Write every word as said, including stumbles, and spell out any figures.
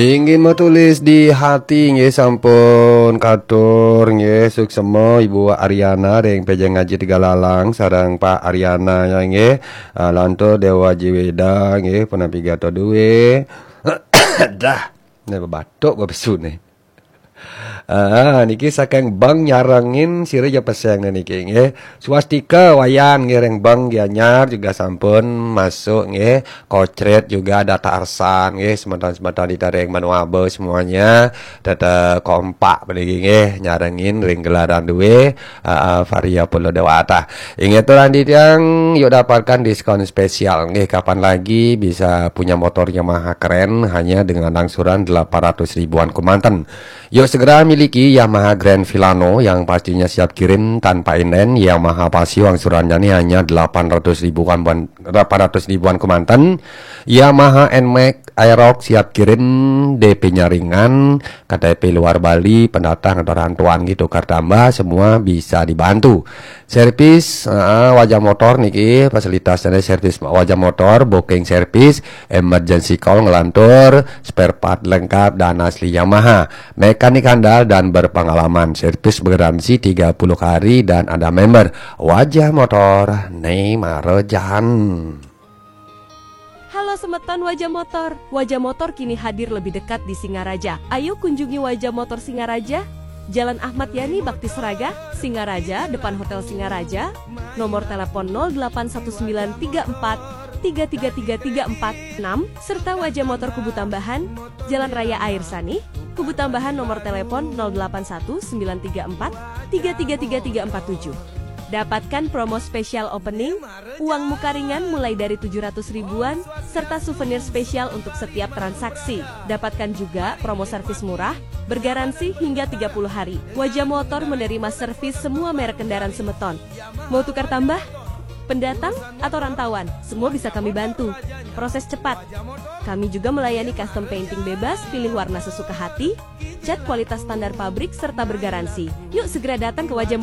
Inggih metulis di hati nggih, sampun katur nggih, suksema Ibu Ariana ring P J Ngaji Tegalalang sareng Pak Ariana ya nggih. Ah, lantur Dewa Jiweda nggih, punapi gatra duwe. Dah, ne batuk babesu ne. Ah, niki saking Bang nyarengin sira ja peseng ne niki nggih. Swastika Wayan nggih ring Bang Gianyar juga sampun masuk nggih. Kocret juga ada Tarsan nggih, semeton-semeton di ring Manuabe semuanya tetap kompak niki nggih, nyarengin ring gelaran duwe, ah, ah, Varia Pulau Dewata. Inggih turan titiang, yuk dapatkan diskon spesial nggih, kapan lagi bisa punya motor Yamaha keren hanya dengan angsuran delapan ratus ribuan kemanten. Yuk segera miliki Yamaha Grand Filano yang pastinya siap kirim tanpa inden. Yamaha Paseo angsurannya nih hanya delapan ratus ribuan, delapan ratus ribuan kemanten. Yamaha Nmax Aerox siap kirim, D P-nya ringan, K T P luar Bali, pendatang atau rantauan gitu, tukar tambah, semua bisa dibantu. Servis, heeh, Wajah Motor niki fasilitasnya servis Wajah Motor, booking servis, emergency call ngelantur, spare part lengkap dan asli Yamaha. Mekanik handal dan berpengalaman, servis bergaransi tiga puluh hari dan ada member. Wajah Motor, ne mara jaan. Halo semeton Wajah Motor. Wajah Motor kini hadir lebih dekat di Singaraja. Ayo kunjungi Wajah Motor Singaraja, Jalan Ahmad Yani Bakti Seraga, Singaraja, depan Hotel Singaraja. Nomor telepon nol delapan satu sembilan tiga empat tiga tiga tiga tiga empat enam, serta Wajah Motor Kubu Tambahan, Jalan Raya Air Sanih, Kubu Tambahan, nomor telepon nol delapan satu sembilan tiga empat tiga tiga tiga tiga empat tujuh. Dapatkan promo spesial opening, uang muka ringan mulai dari tujuh ratus ribuan, serta souvenir spesial untuk setiap transaksi. Dapatkan juga promo servis murah, bergaransi hingga tiga puluh hari. Wajah Motor menerima servis semua merek kendaraan semeton. Mau tukar tambah? Pendatang atau rantauan, semua bisa kami bantu. Proses cepat. Kami juga melayani custom painting bebas, pilih warna sesuka hati, cat kualitas standar pabrik, serta bergaransi. Yuk segera datang ke Wajah